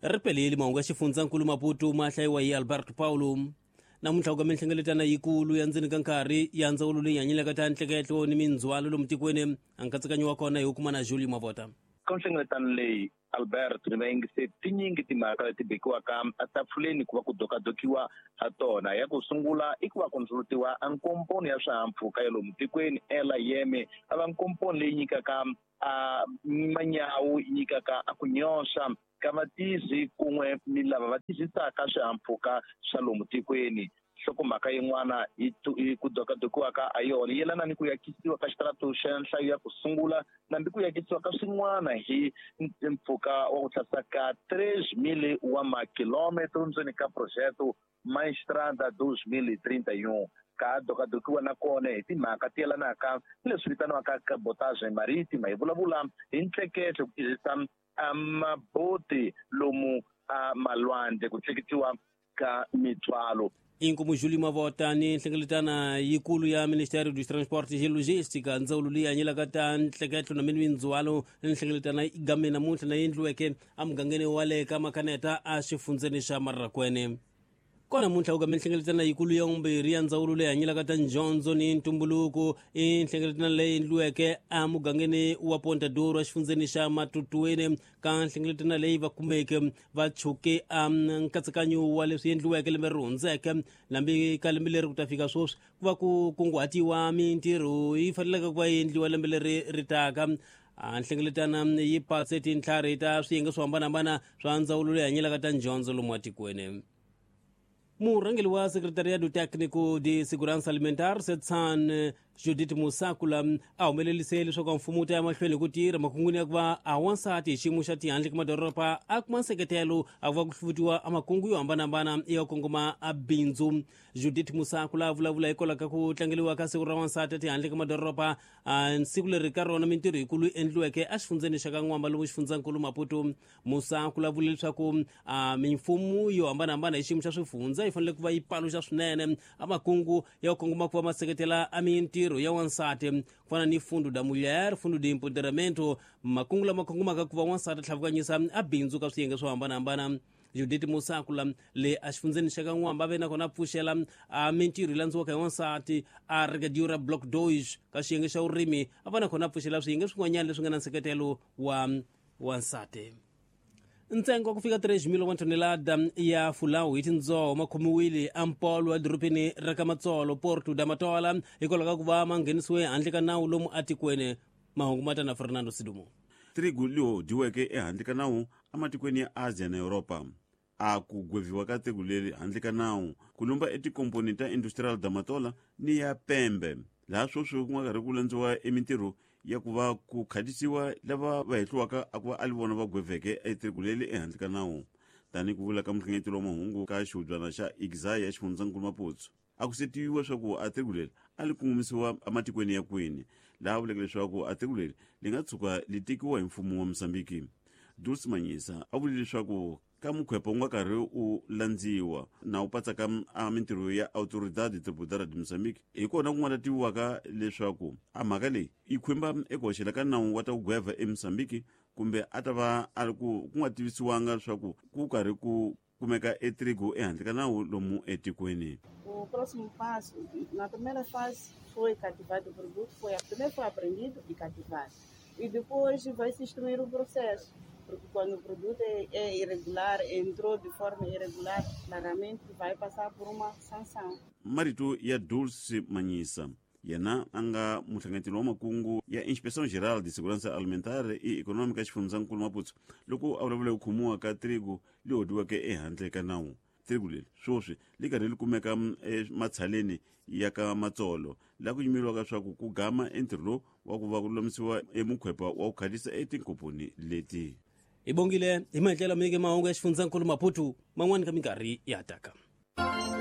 Ri peleli mahungu ya xifundzankulu Maputo ma hlayiwa hi Alberto Paulo. Namuntlha ku ka minhlengeletano yikulu ya ndzeni ka nkarhi ya ndzawulo leyi hanyelaka ta ntleketlo ni mindzhwalo lomu tikweni. A nkatsakanyo wa kona hi wu kuma na Julie Mavota. Ka nhlengeletano leyi, Albert ni vayingiseri, tinyingi timhaka leti bekiwaka etafuleni ku va ku dokadokiwa ha tona. Ya ku sungula i ku va ku ndzulutiwa a nkomponi ya swihahampfhuka ya lomu tikweni, Air a va nkomponi leyi nyikaka a manyawu, yi nyikaka a ku nyoxa ka vatizi kun'we ni lava va tizisaka swihahampfhuka swa lomu tikweni. Nhlokomhaka yin'wana yi ku dokadokiwaka ha yona yi yelana ni ku yakisiwa ka xitaratu xa nhlayo ya ku sungula nambi ku yakisiwa ka swin'wana hi mpfhuka wa ku tlhasa ka 3,000 wa makilometro ndzeni ka projeto Maestrada 2031. Ka dokadokiwa na kona hi timhaka ti yelanaka ni leswi vitaniwaka cabotage marítima, hi vulavula hi ntleketlo ku tirhisa maboti lomu a malwandle ku tleketiwa ka mitswalo. Inkomu Julie Mavota ni nhlengeletana yikulu ya Ministério dos Transportes e Logística, ndzawulo leyi hanyelaka ta ntleketlo na mindzhwalo. Nhlengeletana yi game namuntlha na yendliweke emugangeni wa le ka Makaneta exifundzeni xa Marrakwene. Kona namuntlha ku game nhlengeletana yikulu ya vumbirhi ya ndzawulo leyi hanyelaka ta ndyondzo ni ntumbuluko. I nhlengeletano leyi endliweke emugangeni wa Ponta Douro exifundzeni xa Matutuweni. Ka nhlengeletano leyi va kumeke va chuke a nkatsakanyo wa leswi endliweke lembe ri hundzeke lambi ka lembe leri ku ta fika sweswi ku va ku kunguhatiwa mintirho yi faneleke ku va yi endliwa lembe leri ri taka. A nhlengeletana yi patse tintlhari ta swiyenge swo hambanahambana swa ndzawulo leyi hanyelaka ta ndyondzo lomu atikweni. Murhangeri wa Secretariado Técnico de Segurança Alimentar, SETSAN, Judith Musakula, a humelerise leswaku mfumo wu ta ya mahlweni hi ku tirha makungwini ya ku va a wansati hi xiyimo xa tihandle ka madoroba a kuma nseketelo a ku va ku hluvutiwa a makungu yo hambanahambana ya kongoma a bindzu. Judith Musakula a vulavula hikwalaho ka ku tlangeliwa ka siku ra wansati a tihandle ka madoroba, a siku leri ka rona mintirho yikulu yi endliweke exifundzeni xa ka N'wamba lomu xifundzankulu Maputo. Musa ku vula leswaku a mimfumo yo hambanahambana hi xiyimo xa swifundza yi fanele ku va yi paluxa swinene a makungu ya ku kongoma ku va ma seketela a mintirho ya wansati, ku fana ni Fundo da Mulher, Fundo de Empoderamento, makungu lama kongomaka ku va wansati tlhavukanyisa a bindzu ka swiyenge swo hambanahambana. Judith Musakula le exifundzeni xa ka N'wamba ve nakona a pfuxela a mintirho yi landziwaka hi wansati a Regadura Block 2 ka xiyenge xa vurimi, a va nakona a pfuxela swiyenge swin'wanyana leswi nga na nseketelo wa wansati. Ntsengo wa ku fika 3 wa tonelada ya fulawu hi tindzoho ma khomiwile ampolo edorobeni ra ka Matsolo, Porto da Matola, hikwalaho ka ku va ma nghenisiwe handle ka nawu lomu atikweni. Mahungu ma ta na Fernando Sidumo. Trigu liho dyiweke ehandle ka nawu ematikweni ya Asia na Yuropa. A ku gweviwa ka trigu leri handle ka nawu ku lumba etikomponi ta Industrial da Matola ni ya Pembe, laha sweswi ku nga karhi ku landziwa emintirho ya ku va ku khatisiwa lava va hehliwaka a ku va a li vona va gweveke etrigu leri ehandle ka nawu. Tanihi ku vula ka muhlengeteli wa mahungu ka xihubyana xa Igzai ya xifundzankulu Maputo, a ku se tiviwa leswaku a trigu leri a li kongomisiwa ematikweni ya kwini, laha vuleke leswaku a trigu leri li nga tshuka li tekiwa hi mfumo wa Mozambiki. Dulce Manyisa a vule leswaku ka mukhwepa wu nga karhi u landziwa na wu patsaka a mintirho ya Autoridade Tributária de Moçambique, hi kona ku nga ta tiviwaka leswaku a mhaka leyi yi khumba eku hoxela ka nawu wa ta ku gweva eMozambique, kumbe a ta va a ri ku ku nga tivisiwanga leswaku ku karhi ku kumeka etrigo ehandle ka nawu lomu etikweni. O próximo passo, na primeira fase foi cativado o produto, foi, primeiro foi apreendido e cativado. E depois vai se instruir o processo, porque quando o produto é irregular, entrou de forma irregular, claramente vai passar por uma sanção. Marito ya Dulce Manyisa, yena a nga muhlanganeteli wa makungu ya Inspeção Geral de Segurança Alimentar e Econômica xifundzankulu Maputo, loko a vulavula ku khomiwa ka trigo leyi hodiweke ehandle ka nawu. Trigo leri sweswi li karhi li kumeka ematshaleni ya ka Matsolo, laha ku yimeriwaka leswaku ku gama entirho lowu wa ku va ku lulamisiwa emukhwepa wa ku khalisa etinkomponi leti. Hi bongile hi maendlelo mike mahungu ya xifundzankulu Maputo man'wani ka minkarhi ya taka.